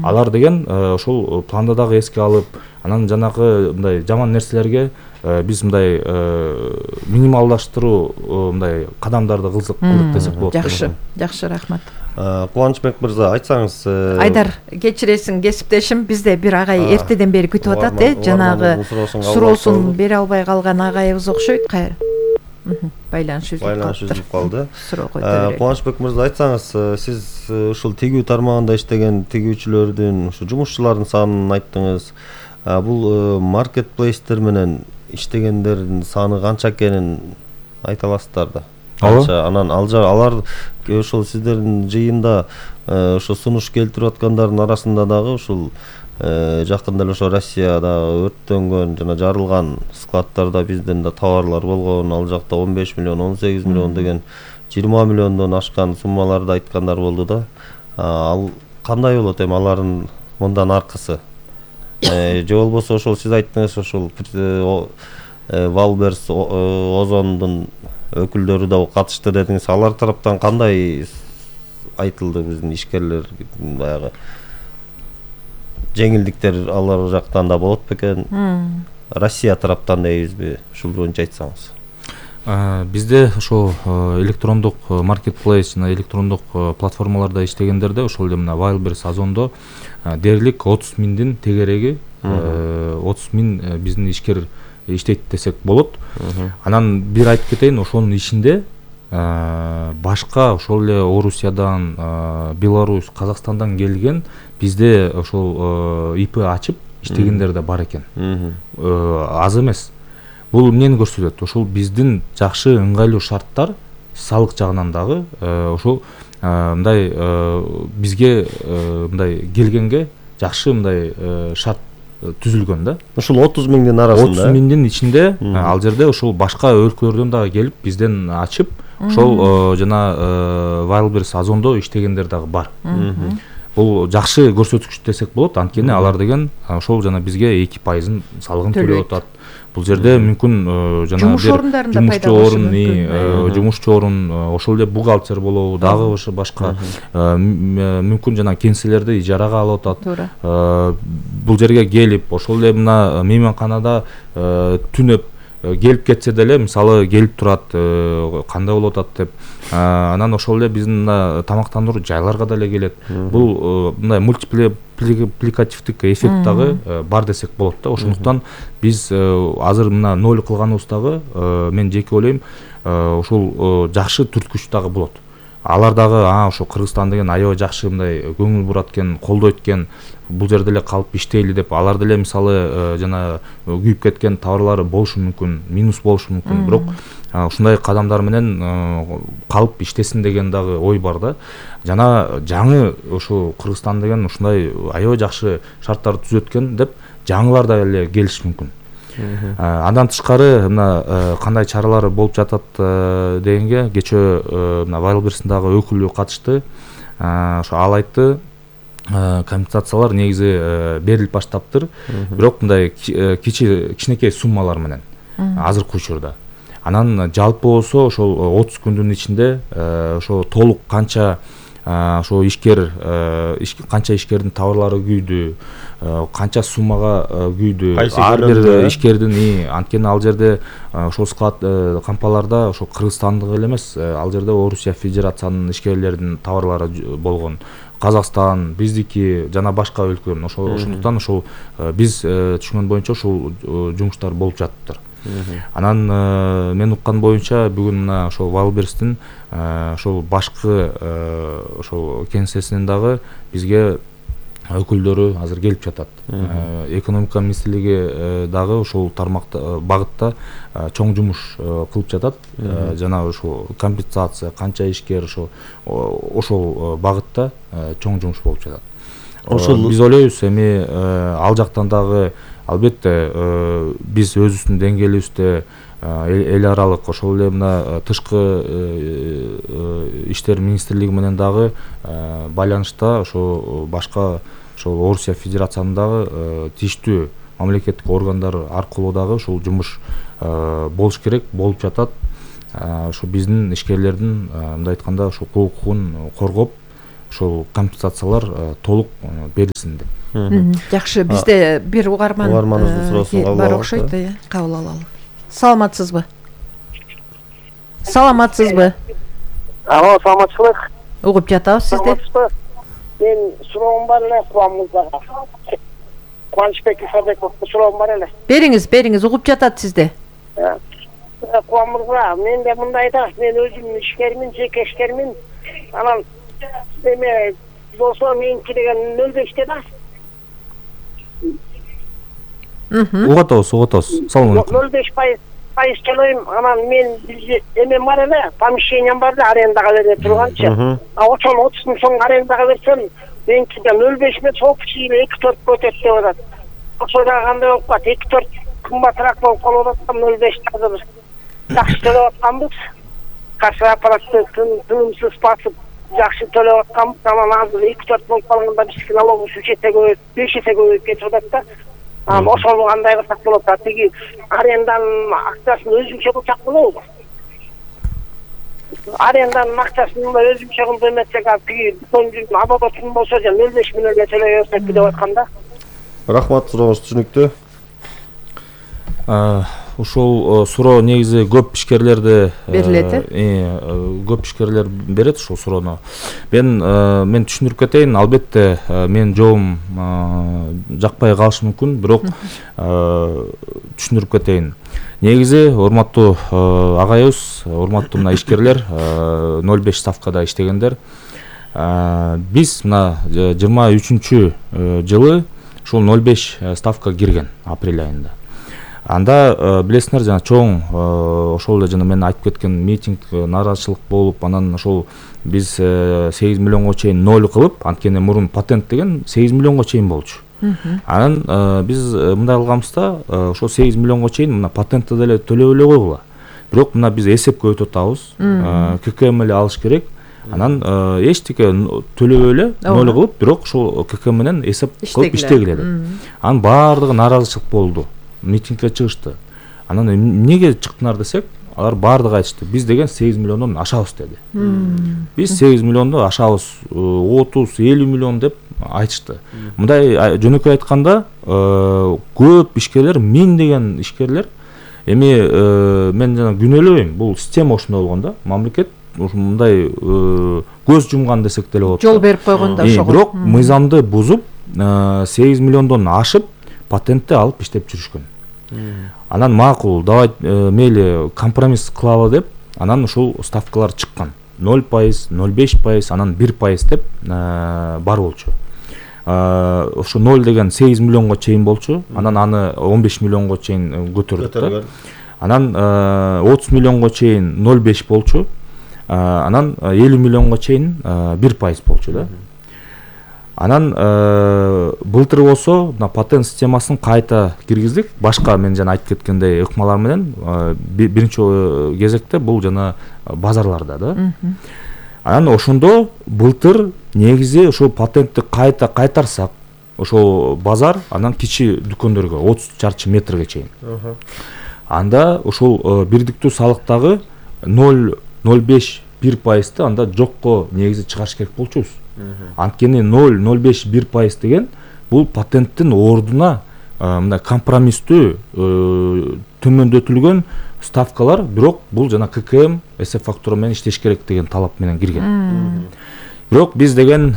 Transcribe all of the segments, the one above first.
Алар деген ошол планды дагы эске алып, анан жанагы мындай жаман нерселерге биз мындай минималдаштыруу мындай кадамдарды кылдык десек болот. Жакшы, рахмат. Кубанычбек мырза, айтсаңыз. Айдар, кечиресиң кесиптешим, бизде бир агай эртеден бери күтүп атат, жанагы суроосун бере албай калган агайыбыз окшойт. Байланыш үзүлүп калды. Суроо койду берели. Кубанычбек мырза, айтсаңыз, сиз ушул тигүү тармагында иштеген тигүүчүлөрдүн, ушу жумушчулардын санын айттыңыз. Бул маркетплейстер менен иштегендердин саны канча экенин айта аласыздар да? Канча? Анан алар ошол сиздердин жыйында ошо сунуш келтирип аткандардын арасында дагы ушул жакында эле ошо Россияда өрттөнгөн жана жарылган складтарда бизден да товарлар болгон, ал жакта 15 миллион, 18 миллион деген 20 миллиондон ашкан суммаларды айткандар болду да. Ал кандай болот эми алардын мындан аркысы? Же болбосо ошол сиз айттыңыз, ошол Валберс Озондун өкүлдөрү да катышты дедиңиз. Алар тараптан кандай айтылды биздин ишкерлер баягы жеңилдиктер алар жактан да болот бекен? Россия тараптан дейбизби? Ушул боюнча айтсаңыз. Бизде ошо электрондук маркетплейс жана электрондук платформаларда иштегендерде ошол эле мына Wildberries Озондо дээрлик 30 миңдин тегереги 30 миң биздин ишкер иштейт десек болот. Анан бир айтып кетейин, ошонун ичинде башка ошол эле Орусиядан, Беларусь, Казакстандан келген бизде ошол ИП ачып иштегендер да бар экен. Аз эмес. Бул эмнени көрсөтөт? Ошол биздин жакшы ыңгайлуу шарттар салык жагынан дагы ошол мындай бизге мындай келгенге жакшы мындай шарт түзүлгөн да. Ошол 30 миңдин арасында 30 миңдин ичинде ал жерде ошол башка өлкөлөрдөн дагы келип бизден ачып ошол жана Wildberries Озондо иштегендер дагы бар. Бул жакшы көрсөткүч десек болот, анткени алар деген ошол жана бизге 2% салыгын төлөп атат. Бул жерде мүмкүн жана жумушчу орун, ошол эле бухгалтер болобу, дагы башка мүмкүн жана кеңселерди ижарага алып атат. Бул жерге келип, ошол эле мына мейманканада түнөп келип кетсе деле, мисалы келип турат, кандай болуп атат деп. Анан ошол эле биздин тамактандыруу жайларга деле келет. Бул мындай мультипликативдик эффект дагы бар десек болот да. Ошондуктан биз азыр мына ноль кылганыбыз дагы мен жеке ойлойм, ушул жакшы түрткүч дагы болот. Алар дагы ошо Кыргызстан деген аябай жакшы мындай көңүл бурат экен, колдойт экен, бул жерде эле калып иштейли деп. Алар деле мисалы жана күйүп кеткен товарлары болушу мүмкүн, минус болушу мүмкүн, бирок ушундай кадамдар менен калып иштесин деген дагы ой бар да. Жана жаңы ошо Кыргызстан деген ушундай аябай жакшы шарттарды түзөт экен деп жаңылар да эле келиши мүмкүн. Андан тышкары мына кандай чаралар болуп жатат дегенге, кечээ мына Wildberries'дагы өкүлү катышты. Ошо ал айтты, компенсациялар негизи берилип баштаптыр, бирок мындай кичинекей суммалар менен азыркы учурда. Анан жалпы болсо ошол 30 күндүн ичинде ошо толук канча ошо канча ишкердин товарлары күйдү, канча суммага күйдү, ар бир ишкердин анткени ал жерде ошол склад компанияларда ошо Кыргызстандык эле эмес, ал жерде Орусия Федерациянын ишкерлеринин товарлары болгон. Казакстан, биздики жана башка өлкөлөрдүн. Ошондуктан ошол биз түшүнгөн боюнча ошол жумуштар болуп жатыптыр. Анан мен уккан боюнча бүгүн мына ошол Wildberries'тин ошол башкы ошол кеңсесинен дагы бизге өкүлдөрү азыр келип жатат. Экономика министрлиги дагы ошол тармакта багытта чоң жумуш кылып жатат. Жана ошол компенсация, канча ишкер ошол багытта чоң жумуш болуп жатат. Ошол биз ойлойбуз эми ал жактан дагы албетте биз өзүбүздүн деңгээлибизде эл аралык ошол эле мына тышкы иштер министрлиги менен дагы байланышта ошо башка ошол Орусия Федерациянын тийиштүү мамлекеттик органдар аркылуу дагы ушул жумуш болуш керек, болуп жатат. Ошо биздин ишкерлердин мындай айтканда ошо укугун коргоп, ошол компенсациялар толук берилсин деп. Жакшы, бизде бир угарманыбыздын суроосун кабыл бар окшойт, кабыл алалы. Саламатсызбы? Саламатсызбы? Алло, саламатсызбы? Угуп жатабыз сизди. Мен суроом бар эле куамыңызга. Кубанычбек Исабековго суроом бар эле. Бериңиз, угуп жатат сизди. Куамыңызга мен де мындай да, мен өзүм ишкермин, жеке ишкермин. Анан эме болсо меники деген 05те да. Угатабыз. Салам алейкум. 05% төлөйм. Анан мен эме бар эле, помещением бар да, арендага бере турганчы. Ошол 30 миң сом арендага берсем, меники 05 эмес, общий 2-4 өтөт деп атат. Ошол да кандай болуп калат? 2-4 кымбатыраак болуп калып атат, 05 азыр жакшы төлөп атканбыз. Касса аппаратты тынымсыз басып жакшы төлөп атканбыз. Анан азыр 2-4 болуп калганда биздики налогубуз 3 эсе көбөйүп, 5 эсе көбөйүп кетип атат да. Ошол кандай кылсак болот? Тиги аренданын акчасын өзүнчө кылсак болобу? Аренданын акчасын өзүнчө кылып эметсек, тиги абонентин болсо 05 миллионго төлөй берсек деп атканда. Рахмат, сурооңуз түшүнүктүү. Ушул суроо негизи көп ишкерлерде берилет. Көп ишкерлер берет ушул суроону. Мен түшүндүрүп кетейин, албетте менин жообум жакпай калышы мүмкүн, бирок түшүндүрүп кетейин. Негизи урматтуу агайыбыз, урматтуу мына ишкерлер, 05 ставкада иштегендер, биз мына 23-жылы ушул 05 ставка кирген апрель айында. Анда билесиңер, жана чоң ошол эле жана мен айтып кеткен митинг, нааразычылык болуп, анан ошол биз 8 миллионго чейин 0 кылып, анткени мурун патент деген 8 миллионго чейин болчу. Анан биз мындай кылганбыз да, ошол 8 миллионго чейин мына патентти деле төлөп эле койгула. Бирок мына биз эсепке өтүп атабыз. ККМ эле алыш керек. Анан эчтеке төлөбөй эле 0 кылып, бирок ошол ККМ менен эсеп кылып иштегиле деп. Анын баардыгы нааразычылык болду. Митингке чыгышты. Анан эмнеге чыктыңар десек, алар баардыгы айтышты. Биз деген 8 миллиондон ашабыз деди. Биз 8 миллиондон ашабыз, 30-50 миллион деп айтышты. Мындай жөнөкөй айтканда, көп ишкерлер, миңдеген ишкерлер, эми мен жана күнөөлөбөйм, бул система ошондой болгон да, мамлекет мындай көз жумган десек деле болот. Жол берип койгон да ошого. Бирок мыйзамды бузуп, 8 миллиондон ашып патентти алып иштеп жүрүшкөн. Анан макул, давай мейли компромисс кылалы деп, анан ушул ставкалар чыккан. 0%, 0,5%, анан 1% деп бар болчу. Ошо 0 деген 8 миллионго чейин болчу, анан аны 15 миллионго чейин көтөрдүк. Анан 30 миллионго чейин 0,5 болчу, анан 50 миллионго чейин 1% болчу да. Анан былтыр болсо патент системасын кайта киргиздик. Башка мен жана айтып кеткендей ыкмалар менен биринчи кезекте бул жана базарларда да. Анан ошондо былтыр негизи ошол патентти кайта кайтарсак, ошол базар анан кичи дүкөндөргө 30 чарчы метрге чейин. Анда ошол бирдиктүү салыктагы 0,05-1%-ты анда жокко негизи чыгарыш керек болчубуз. Анткени 0,05-1% деген бул патенттин ордуна мындай компромисстүү төмөндөтүлгөн ставкалар, бирок бул жана ККМ эсеп фактура менен иштеш керек деген талап менен кирген. Бирок биз деген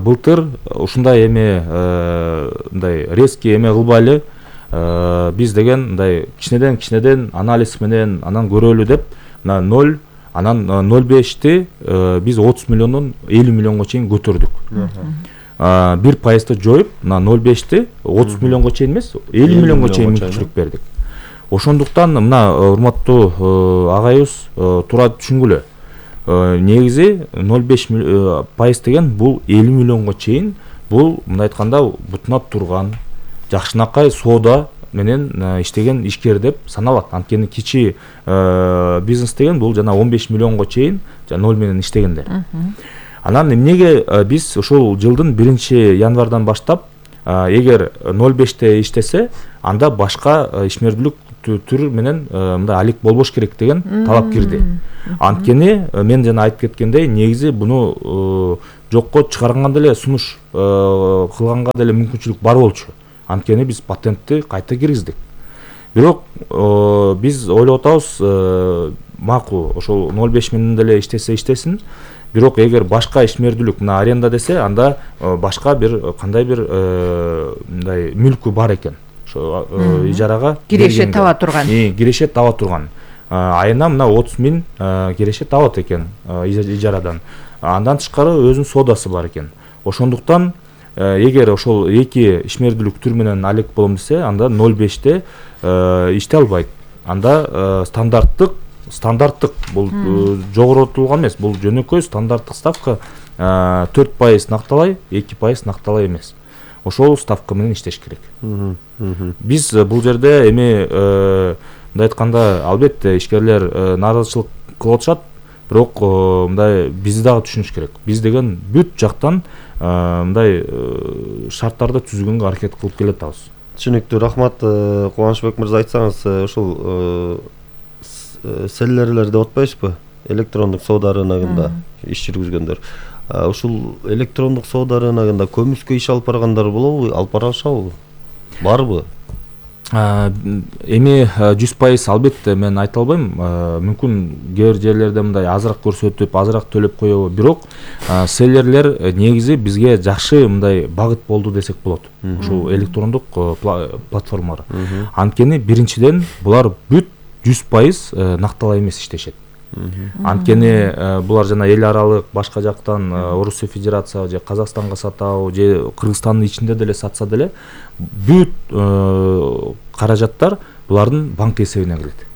былтыр ушундай эме мындай резкий эме кылбайлы, биз деген мындай кичинеден анализ менен анан көрөлү деп, мына 0, анан 0,5-ти биз 30 миллиондон 50 миллионго чейин көтөрдүк. 1%-ты жоюп, мына 0,5-ти 30 миллионго чейин эмес, 50 миллионго чейин мүмкүнчүлүк бердик. Ошондуктан мына урматтуу агайыбыз туура түшүнгүлө. Негизи 0,5% деген бул 50 миллионго чейин, бул мындай айтканда бутуна турган, жакшынакай соода менен иштеген ишкер деп саналат. Анткени кичи бизнес деген бул жана 15 миллионго чейин 0 менен иштегендер. Анан эмнеге биз ошол жылдын 1-январдан баштап эгер 0,5-те иштесе, анда башка ишмердүүлүк түр менен мындай алек болбош керек деген талап кирди. Анткени мен жана айтып кеткендей, негизи буну жокко чыгарганга деле сунуш кылганга деле мүмкүнчүлүк бар болчу. Анткени биз патентти кайта киргиздик. Бирок биз ойлоп атабыз, макул ошол 0,5 менен деле иштесин. Бирок эгер башка ишмердүүлүк мына аренда десе, анда башка бир кандай бир мындай мүлкү бар экен. Ошо ижарага киреше таба турган. Киреше таба турган. Айына мына 30 миң киреше табат экен ижарадан. Андан тышкары өзүнүн соодасы бар экен. Ошондуктан эгер ошол эки ишмердүүлүк түр менен алек болом десе, анда 0,5те иштей албайт. Анда стандарттык бул жогоротулган эмес, бул жөнөкөй стандарттык ставка 4% накталай, 2% накталай эмес. Ошол ставка менен иштеш керек. Биз бул жерде эми мындай айтканда, албетте ишкерлер нааразычылык кылып атышат, бирок мындай бизди дагы түшүнүш керек. Биз деген бүт жактан мындай шарттарды түзгөнгө аракет кылып келатабыз. Түшүнүктүү, рахмат. Кубанычбек мырза, айтсаңыз, ушул селлерлер деп атпайсызбы? Электрондук соода рыногунда иш жүргүзгөндөр. Ушул электрондук соода рыногунда көмүскө иш алып баргандар болобу, алып бара алышабы? Барбы? Эми 100% албетте мен айта албайм. Мүмкүн кээ бир жерлерде мындай азыраак көрсөтүп, азыраак төлөп коёбу. Бирок селлерлер негизи бизге жакшы мындай багыт болду десек болот. Ушул электрондук платформалар. Анткени биринчиден булар бүт 100% накталай эмес иштешет. Анткени булар жана эл аралык башка жактан Орусия Федерация же Казакстанга сатабы же Кыргызстандын ичинде деле сатса деле бүт каражаттар булардын банк эсебине келет.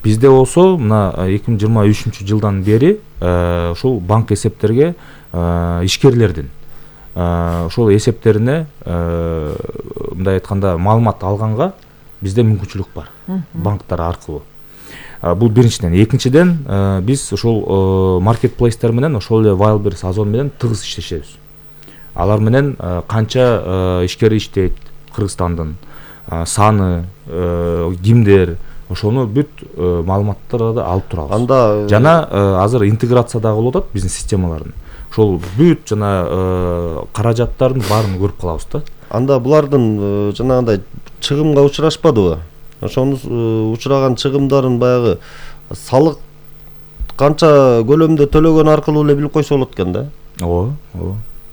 Бизде болсо мына 2023-жылдан бери ушул банк эсептерге ишкерлердин ошол эсептерине мындай айтканда маалымат алганга бизде мүмкүнчүлүк бар банктар аркылуу. Бул биринчиден. Экинчиден, биз ошол маркетплейстер менен, ошол эле Wildberries, Озон менен тыгыз иштешебиз. Алар менен канча ишкер иштейт Кыргызстандын саны, кимдер, ошону бүт маалыматтарды алып турабыз. Анда жана азыр интеграция дагы болуп атат биздин системалардын. Ошол бүт жана каражаттардын баарын көрүп калабыз да. Анда булардын жанагындай чыгымга учурашпадыбы? Ошону учураган чыгымдарын баягы салык канча көлөмдө төлөгөн аркылуу эле билип койсо болот экен да. Ооба.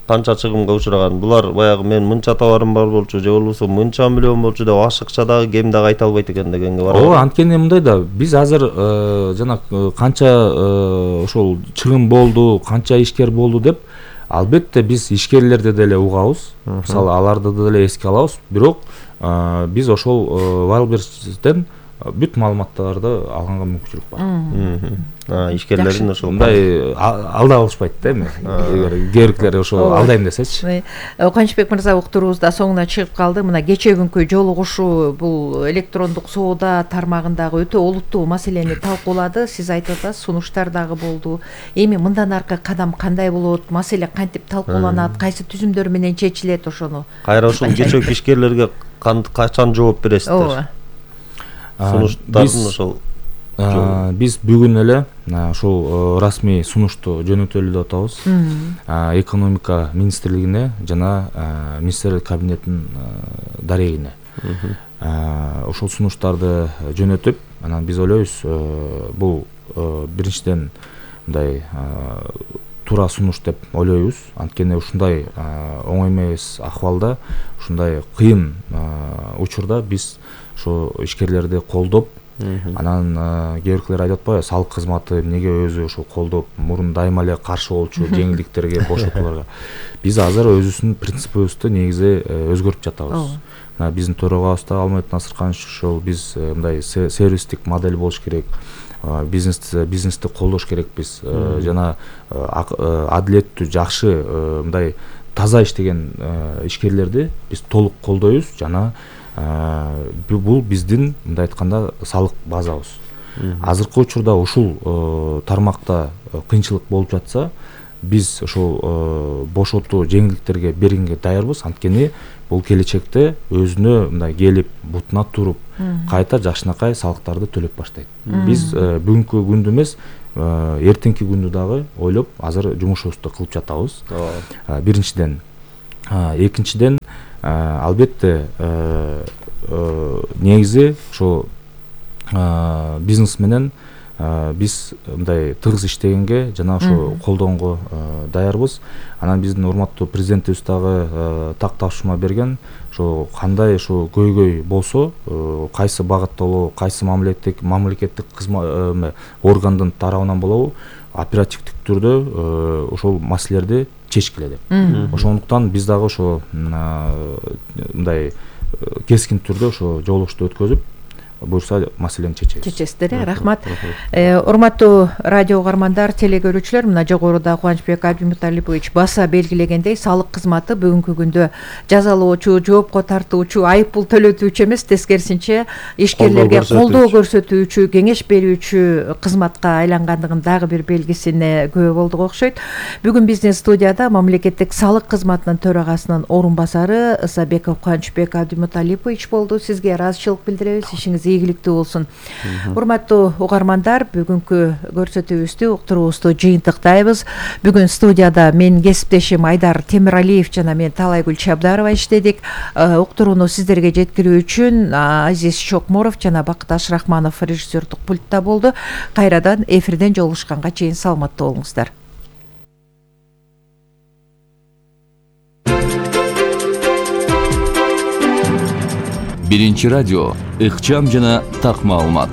Канча чыгымга учураган. Булар баягы мен мынча товарым бар болчу, же болбосо мынча миллион болчу деп ашыкча дагы кем дагы айта албайт экен дегенге бар. Ооба, анткени мындай да, биз азыр жана канча ошол чыгым болду, канча ишкер болду деп албетте биз ишкерлерди деле угабыз. Мисалы, аларды деле эске алабыз. Бирок биз ошол Wildberries'тен бүт маалыматтарды алганга мүмкүнчүлүк бар. Ишкерлердин ошол мындай алда алышпайт да эми. Эгер керектер ошол алдайм десечи. Кубанычбек мырза, уктуруубузда соңуна чыгып калды. Мына кечээ күнкү жолугушуу бул электрондук соода тармагындагы өтө олуттуу маселени талкуулады. Сиз айтып атасыз, сунуштар дагы болду. Эми мындан аркы кадам кандай болот? Маселе кантип талкууланат? Кайсы түзүмдөр менен чечилет ошону? Кайра ушул кечээ ишкерлерге качан жооп бересиздер? Сунуштардын ошол биз бүгүн эле ушул расмий сунушту жөнөтөлү деп атабыз. Экономика министрлигине жана министрлик кабинетинин дарегине. Ошол сунуштарды жөнөтүп, анан биз ойлойбуз, бул биринчиден мындай туура сунуш деп ойлойбуз. Анткени ушундай оңой эмес ахвалда, ушундай кыйын учурда биз ошо ишкерлерди колдоп, анан кээ бирлер айтып атпайбы, салык кызматы эмнеге өзү ошо колдоп, мурун дайыма эле каршы болчу жеңилдиктерге, бошотууларга. Биз азыр өзүбүздүн принципибизди негизи өзгөртүп жатабыз. Биздин төрагабыз да Алмамет Насырканович ошол биз мындай сервистик модель болуш керек. Бизнести колдош керекпиз. Жана адилеттүү, жакшы, мындай таза иштеген ишкерлерди биз толук колдойбуз. Жана бул биздин мындай айтканда салык базабыз. Азыркы учурда ушул тармакта кыйынчылык болуп жатса, биз ошол бошотуу жеңилдиктерге бергенге даярбыз. Анткени бул келечекте өзүнө мындай келип бутуна туруп кайта жакшынакай салыктарды төлөп баштайт. Биз бүгүнкү күндү эмес, эртеңки күндү дагы ойлоп азыр жумушубузду кылып жатабыз. Биринчиден, экинчиден, албетте негизи ошо бизнес менен биз мындай тыгыз иштегенге жана ошо колдоонго даярбыз. Анан биздин урматтуу президентибиз дагы так тапшырма берген. Ошо кандай ошо көйгөй болсо, кайсы багытта болобу, кайсы мамлекеттик органдын тарабынан болобу, оперативдик түрдө ошол маселелерди чечкиле деп. Ошондуктан биз дагы ошо мындай кескин түрдө ошо жолугушту өткөзүп, буюрса маселени чечесиздер. Рахмат. Урматтуу радио угармандар, теле көрүүчүлөр, мына жогоруда Кубанычбек Абдимуталипович баса белгилегендей, салык кызматы бүгүнкү күндө жазалоочу, жоопко тартуучу, айып пул төлөтүүчү эмес, тескерисинче ишкерлерге колдоо көрсөтүүчү, кеңеш берүүчү кызматка айлангандыгын дагы бир белгисине күбө болдук окшойт. Бүгүн биздин студияда мамлекеттик салык кызматынын төрагасынын орун басары Ысабеков Кубанычбек Абдимуталипович болду. Сизге ыраазычылык билдиребиз. Ишиңиз ийгиликтүү болсун. Урматтуу угармандар, бүгүнкү көрсөтүүбүздү, уктуруубузду жыйынтыктайбыз. Бүгүн студияда менин кесиптешим Айдар Темиралиев жана мен Талайгүл Чабдарова иштедик. Уктурууну сиздерге жеткирүү үчүн Азиз Чокморов жана Бакыт Ашрахманов режиссердук пультта болду. Кайрадан эфирден жолугушканга чейин саламатта болуңуздар. Биринчи радио, ыкчам жана так маалымат.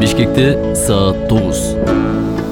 Бишкекте саат 9.